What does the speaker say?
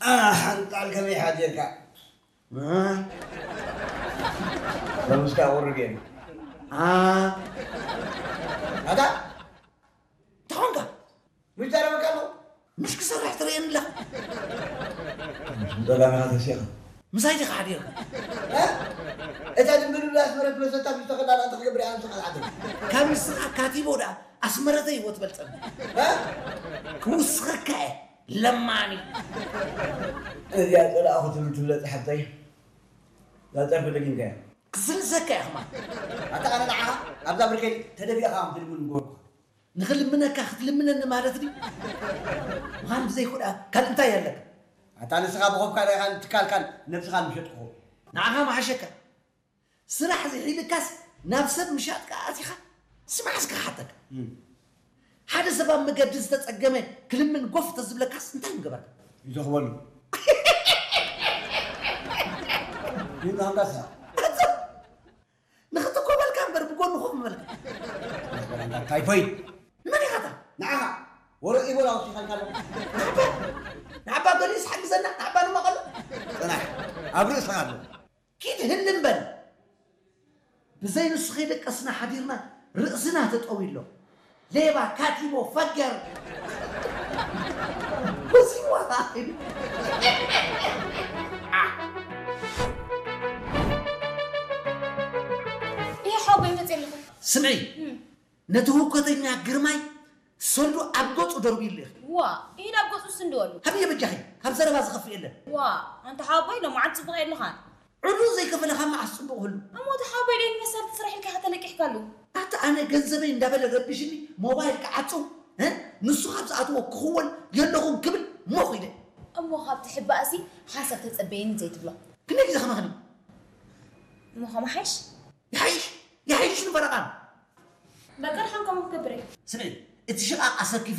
ሓንጣል ከመይ ሓዲርካ? እ? ሎምስካ ቁርብ እየ። ኣ? ኣታ? እንታይ ኾንካ? ምሽ ዛረበካ ኣለኹ። ምሽ ክሰርሕ ትርእየኒ ኣለኻ። ጸጋምኻ ተሲኻ። ምሳይ ዲኻ ሓዲርካ? እ? እታ ድምብልብል ኣስመረት መሰታ ምስ ተኸዳና እንታይ ክገብር እያ ንስኻ ዝሓድር? ካብ ንስኻ ካቲቦ ደኣ ኣስመረተይ እዎ ትበልጸኒ። እ? ክውስኸካ እየ። ለማኒ። እዚኣ ጸላእኹ ትብል ትብለጽ ሓብተይ። እዛ ጸርፊ ደጊምካያ። ክስልሰካ እየ ኸማን። ኣታ ኣነ ንዓኻ ኣብዛ ብርከይ ተደፊእኻ ከም ትልምን ምገበርኩኻ። ንኽልምነካ ክትልምነኒ ማለት ድዩ? ምዃን ብዘይኮ ደኣ ካልእ እንታይ ኣለካ? ኣታ ንስኻ ብኾብካ ርኢኻን ትካልካን ነብስኻን ምሸጥኩኹ። ንዓኻ መሓሸካ። ስራሕ ዝሒልካስ ናብ ሰብ ምሻጥካ ኣቲኻ? ስማዕ እስከ ክሓተካ። እም። ሓደ ሰብ ኣብ መገዲ ዝተጸገመ ክልምን ጎፍ ተዝብለካስ እንታይ ምገበርካ? ይተኽበሉ። ይብሉ ኣንበሳ። ንኽትኮበልካ እምበር ብጎኒ ኮፍ ምበልካ። ታይፎይድ። ንመን ኢኻ እታ? ንዓኻ። ወረ ኢቦላ ወሲኻልካ ኣሎ። ንዓባ፣ ንዓባ ገሊስ ሓግዘና፣ ንዓባ ንመቐሎ። ጽናሕ። ኣብ ርእስኻ ኣሎ። ኪድ ህልም በል። ብዘይ ንሱ ከይደቀስና ሓዲርና ርእስና ተጠውዩ ኣሎ። ሌባ፣ ካቲቦ፣ ፈገር። ወሲዋ። ይሄ ሓወቦይ መፅእ ኣለኹ። ስምዒ፣ እም። ነቲ ህውከተኛ ግርማይ ሰልዱ ኣብ ገጹ ደርብዩሉ ኢኺ። ዋ፣ ኢድ ኣብ ገጹ ስንድወሉ። ሃብየ በጃኺ፣ ካብ ዘረባ ዝኸፍእ የለን። ዋ፣ ኣንታ ሓወቦይ ሎማዓንቲ ጽቡቕ የለኻን። ዕሉል ዘይከፈለኻ መዓስ ጽቡቕ ህሉ? እሞ እቲ ሓወቦይ ደይን መሳርሒ ስራሕ ኢልካ ኢኻ ተለቂሕካሉ። ኣታ ኣነ ገንዘበይ እንዳበለ ረቢሽኒ ሞባይል ክዓጽው፣ እ? ንሱ ካብ ዝኣትዎ ክኽወል የለኹን ክብል ሞኽ ኢለ። እሞ ካብ ትሕባእሲ ሓንሳብ ተጸበየኒ ዘይትብሎ። ክንደይ ግዜ ከማኽኒ? እሞ ከመሓይሽ? ይሓይሽ፣ ይሓይሽ ንፈረቓን። በቃ ድሓን ከምኡ ክገብር እየ። ስምዒ፣ እቲ ሽቓቕ ኣሰኪፉ